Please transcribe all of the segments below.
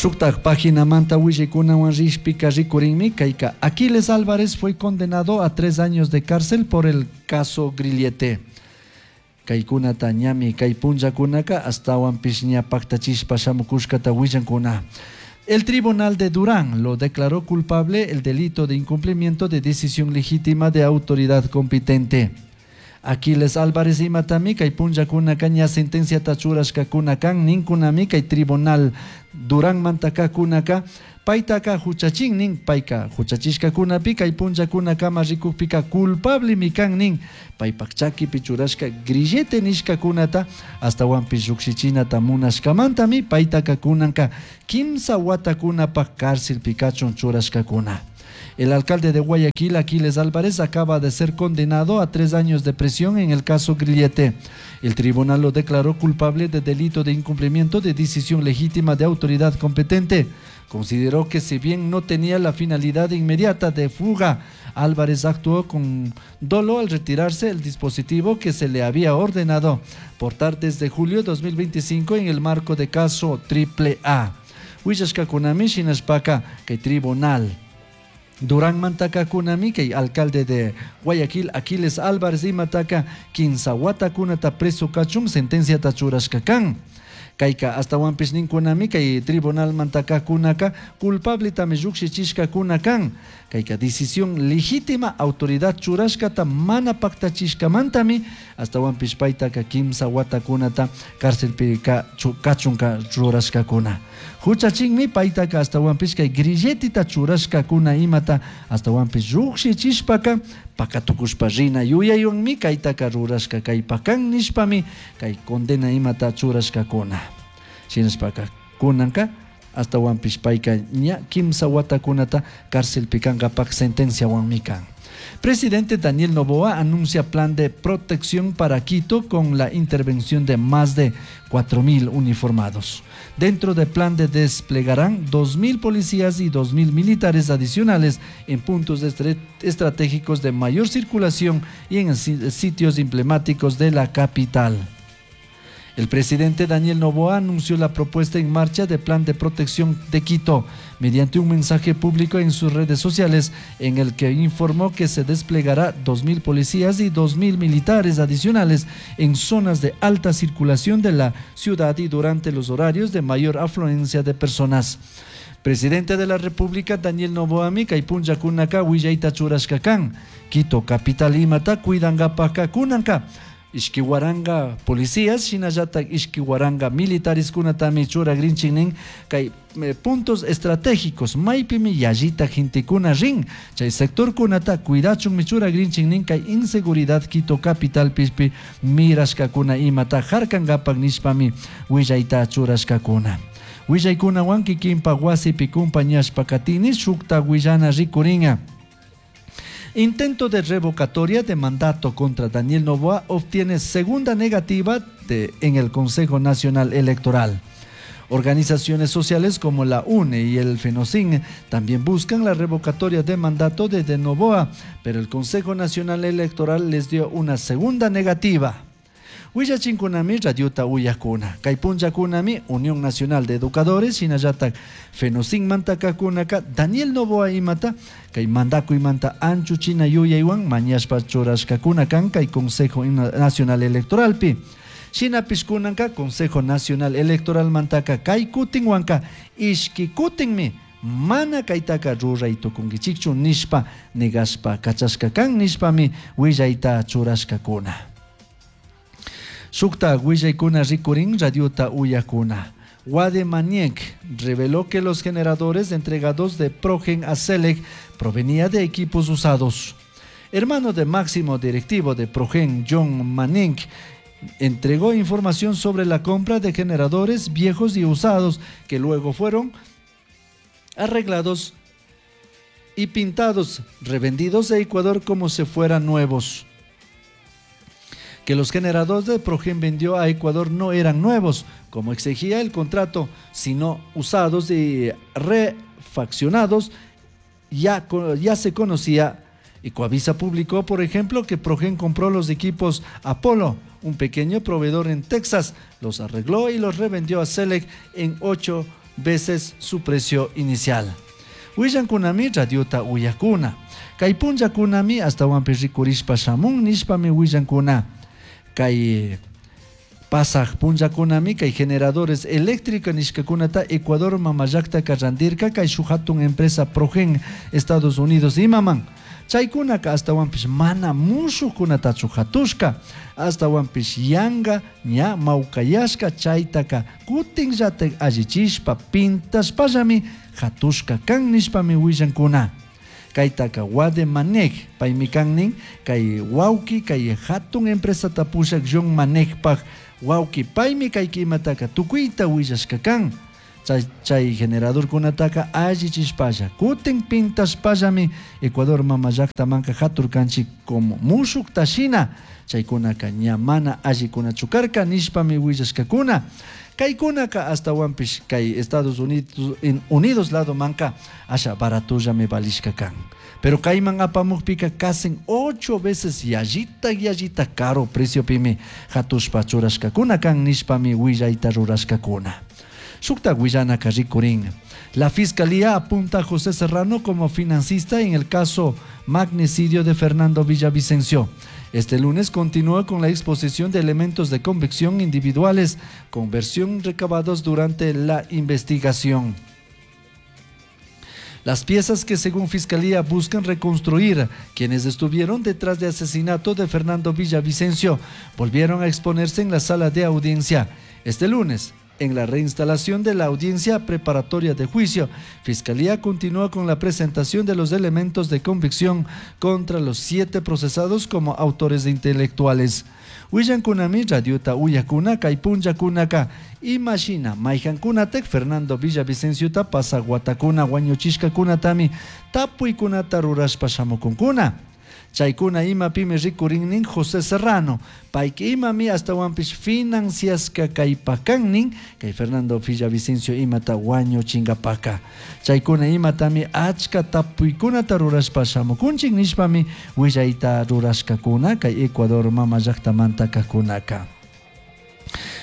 Shuktak paginamanta willaykunawan rishpika rikurinmi kayka Aquiles Álvarez fue condenado a 3 años de cárcel por el caso Grillete. Kaykunata ñami kay punllakunaka ashtawanpish ña paktachishpa shamukushkata willankuna. El Tribunal de Durán lo declaró culpable el delito de incumplimiento de decisión legítima de autoridad competente. Aquiles Álvarez imatami kay punllakunaka ña sentenciata churashkakuna kan ninkunami kay Tribunal Durán mantakakunaka paytaka huchachin nin, payka huchachishkakunapi kay punllakunakama rikukpika culpablemi kan nin, paypak chakipi churashka grillete nishkakunata ashtawanpish llukshichinata munashkamantami paytaka kunanka kimsa watakunapak cárcelpi kachun churashkakuna. El alcalde de Guayaquil, Aquiles Álvarez, acaba de ser condenado a 3 años de prisión en el caso Grillete. El tribunal lo declaró culpable de delito de incumplimiento de decisión legítima de autoridad competente. Consideró que, si bien no tenía la finalidad inmediata de fuga, Álvarez actuó con dolo al retirarse el dispositivo que se le había ordenado portar desde julio de 2025 en el marco de caso AAA. Willashkakunami shinashpaka kay tribunal Durán mantakakunami kay alcalde de Guayaquil Aquiles Álvarez imataka kimsa watakunata preso kachun sentenciata churashka kan. Kayka ashtawanpish ninkunami kay tribunal mantakakunaka culpabletami llukshichishkakuna kan. Kayka decisión legítima autoridad churashkata mana paktachishkamantami ashtawanpish paytaka kimsa watakunata cárcelpi kachunka churashkakuna. Huchachinmi paytaka ashtawanpish kay grilletita churashkakuna imata ashtawanpish llukshichishpaka pakatukushpa rina yuyaywanmi kaytaka rurashka kaypakan nishpami kay condena imata churashkakuna. Shinashpaka kunanka ashtawanpish payka ña kimsa watakunata cárcelpi kankapak sentenciawanmi kan. Presidente Daniel Noboa anuncia plan de protección para Quito con la intervención de más de 4.000 uniformados. Dentro del plan de desplegarán 2.000 policías y 2.000 militares adicionales en puntos estratégicos de mayor circulación y en sitios emblemáticos de la capital. El presidente Daniel Noboa anunció la propuesta en marcha de plan de protección de Quito mediante un mensaje público en sus redes sociales, en el que informó que se desplegará 2.000 policías y 2.000 militares adicionales en zonas de alta circulación de la ciudad y durante los horarios de mayor afluencia de personas. Presidente de la República Daniel Noboami kay punllakunaka willayta churashka kan. Quito capital imata cuidankapaka kunanka ishki waranga policías shinallatak ishki waranga militares kunatami churagrinchik nin kay puntos estratégicos maypimi yallita gentekuna rin chay sector kunata cuidachunmi churagrinchik nin kay inseguridad Quito capitalpi mirashkakuna imata harkankapak nishpami willayta churashkakuna. Willaykunawan kikinpak wasipi kumpañashpa katini shukta willana rikuringa. Intento de revocatoria de mandato contra Daniel Noboa obtiene segunda negativa en el Consejo Nacional Electoral. Organizaciones sociales como la UNE y el FENOCIN también buscan la revocatoria de mandato de Noboa, pero el Consejo Nacional Electoral les dio una segunda negativa. Willachinkunami radiota uyakuna. Kay punllakunami Unión Nacional de Educadores shinallatak FENOCIN mantakakunaka Daniel Noboa imata kay mandakuymanta anchuchina yuyaywan mañashpa churashkakuna kan kay Consejo Nacional Electoralpi. Shinapish kunanka Consejo Nacional Electoral mantaka kay kutinwanka ishki kutinmi mana kaytaka ruray tukunkichikchu nishpa negashpa kachashka kan nishpami willayta churashkakuna. Shukta willaykuna rikurin radiota uyakuna. Wade Maniek reveló que los generadores entregados de Progen a Celec provenía de equipos usados. Hermano de máximo directivo de Progen, John Maniek, entregó información sobre la compra de generadores viejos y usados que luego fueron arreglados y pintados, revendidos de Ecuador como si fueran nuevos. Que los generadores de Progen vendió a Ecuador no eran nuevos, como exigía el contrato, sino usados y refaccionados, ya se conocía. Ecuavisa publicó, por ejemplo, que Progen compró los equipos Apollo, un pequeño proveedor en Texas, los arregló y los revendió a Celec en 8 veces su precio inicial. Willankunami radiota uyakuna. Kay punllakunami astawanpish rikurishpa shamun nishpami willankuna. Kay pasaj punllakunami kay generadores eléctrica nishkakunata Ecuador mamallaktaka randirka kay shuk hatun empresa Progen Estados Unidos imaman. Chaykunaka astawanpish mana mushuqkunatachu hatushka, astawanpish yanga ña mawkayashka chaytaka kutinllatak allichishpa pintashpallami hatushka kan nishpami willankuna. Kaytaka Wade Manek paymi kan nin kay wawki kay hatun empresata pushak John Manekpaj wawki paymi kay kimataka tukuyta willashka kan. Chay generadorkunataka allichishpalla kutin pintashpallami Ecuador mama llaktamanka haturkanchik como mushukta shina chaykunaka ña mana allikunachu karka nishpami willashkakuna. Kaykunaka astawanpish kay Estados Unidos ladomanka asha baratullami valishka kan. Pero kayman apamukpika casi 8 veces yallita yallita caro preciopimi hatushpa churashkakuna kan nishpami willayta rurashkakuna. Shukta willanaka rikurin. La Fiscalía apunta a José Serrano como financista en el caso magnicidio de Fernando Villavicencio. Este lunes continúa con la exposición de elementos de convicción individuales con versión recabados durante la investigación. Las piezas que según Fiscalía buscan reconstruir quienes estuvieron detrás del asesinato de Fernando Villavicencio volvieron a exponerse en la sala de audiencia. Este lunes, en la reinstalación de la audiencia preparatoria de juicio, Fiscalía continúa con la presentación de los elementos de convicción contra los 7 procesados como autores intelectuales. Willankunami radiota uyakuna kay punllakunaka imashina mayhankunatek Fernando Villavicenciota pasaguatakuna wañuchishkakunatami tapuykunata rurashpa shamukunkuna. Chaykuna imapimi rikurinnin José Serrano, payka imami astawanpish financiaska kaypakannin kay Fernando Villavicencio imata wañuchinkapaka. Chaykuna imatami achka tapuykunata rurashpa shamukunchik nishpami willayta rurashkakuna kay Ecuador mama llaktamanta kakunaka.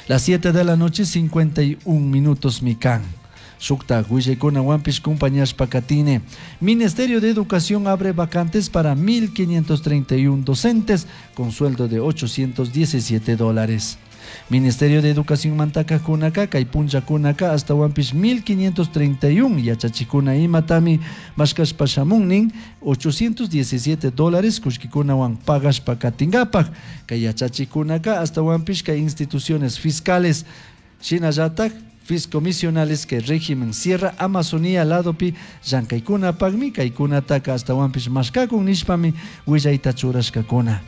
Las 7 de la noche 51 minutos mikan. Shukta willaykuna wampish compañashpa katine. Ministerio de Educación abre vacantes para 1.531 docentes con sueldo de 817 dólares. Ministerio de Educación mantaka kunaka kay punlla kunaka hasta wampish 1.531 yachachikuna imatami mashkashpa shamunnin 817 dólares kullkikunawan pagashpa katinkapak. Kay yachachikunaka hasta wampish kay instituciones fiscales shinallatak fiscomisionales que régimen Sierra Amazonía ladopi llankaykunapakmi kaykunataka astawanpish mashkakun nishpami willayta churashkakuna.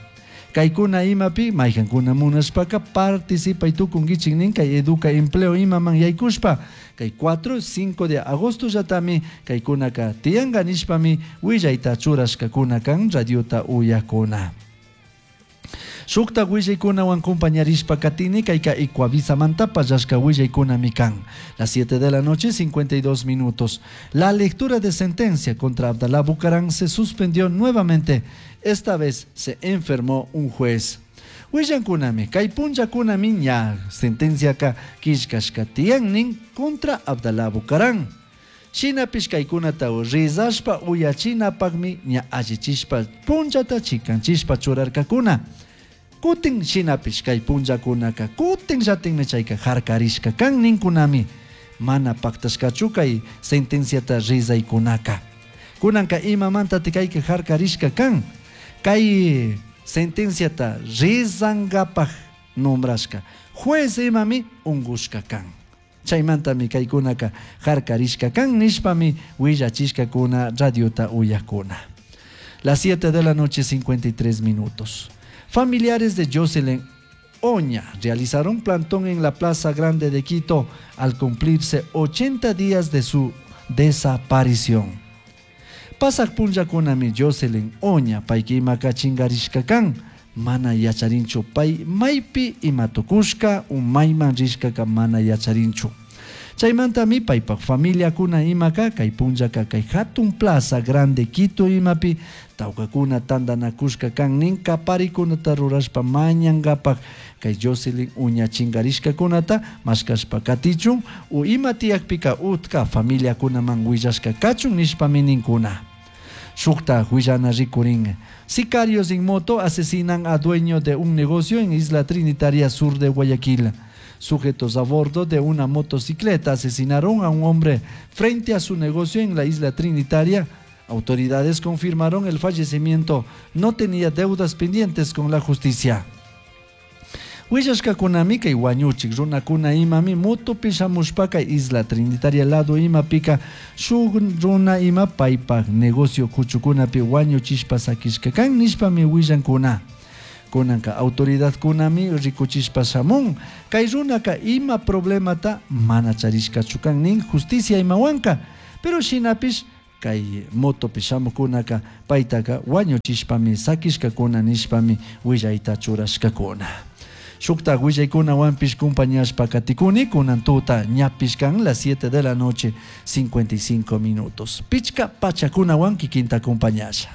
Kaykuna imapi mayhankuna munashpaka participay tukunkichik nin kay Educa Empleo imaman yaykushpa kay 4, 5 de agosto llatami kaykunaka tiyanka nishpami willayta churashkakuna kan radiota uyakuna. Shukta willaykunawan compañarishpa katini kayka Ecuavisa manta pallashka willaykunami kan. Las 7 de la noche, 52 minutos. La lectura de sentencia contra Abdalá Bucaram se suspendió nuevamente. Esta vez se enfermó un juez. Willankunami, kay punllakunami ña sentencia ka killkashka tiyannin contra Abdalá Bucaram. Shinapish kaykunata rizashpa uyachinapakmi ña allichishpa punllata chikanchishpa churarkakuna. Kutin shinapish kay punllakunaka kutin llatinmi chayka harkarishka kan ninkunami mana paktashkachu kay sentenciata rizaykunaka. Kunanka imamanta kayka harkarishka kan kay sentenciata rizankapaj nombrashka juez imami ungushka kan. Chaymantami kaykunaka harkarishka kan nishpami willachishkakuna radiota uyakuna. Las 7 de la noche 53 minutos. Familiares de Jocelyn Oña realizaron plantón en la Plaza Grande de Quito al cumplirse 80 días de su desaparición. Pasak punllakunami Jocelyn Oña payka imaka chingarishka kan mana yacharinchu pay maypi imatukushka u mayman rishkaka mana yacharinchu. Chaymantami paypak familiakuna imaka kay punllaka kay hatun plaza grande Quito imapi tawkakuna tantanakushka kan nin kaparikunata rurashpa mañankapak kay Jocelyn uña chinkarishkakunata mashkashpa katichun u ima tiyakpika utka familiakunaman willashka kachun nishpami ninkuna. Shukta huillana rikurin. Sicarios en moto asesinan a dueño de un negocio en Isla Trinitaria Sur de Guayaquil. Sujetos a bordo de una motocicleta asesinaron a un hombre frente a su negocio en la Isla Trinitaria. Autoridades confirmaron el fallecimiento. No tenía deudas pendientes con la justicia. Willashkakunami kay wañuchik runakuna imami motopi shamushpaka Isla Trinitaria lado imapika shuk runa ima paypak negocio kuchukunapi wañuchishpa sakishka kan nishpami willankuna. Kunanka autoridadkunami rikuchishpa shamun kay runaka ima problemata mana charishkachu kan nin justicia imawanka pero shinapish kay motopi shamukunaka paytaka wañuchishpami sakishkakuna nishpami willayta churashkakuna. Shukta willaykunawanpish compañashpa katikuni kunan tuta ñapish kan las 7 de la noche 55 minutos. Pichka pachakunawan kikinta acompañasha.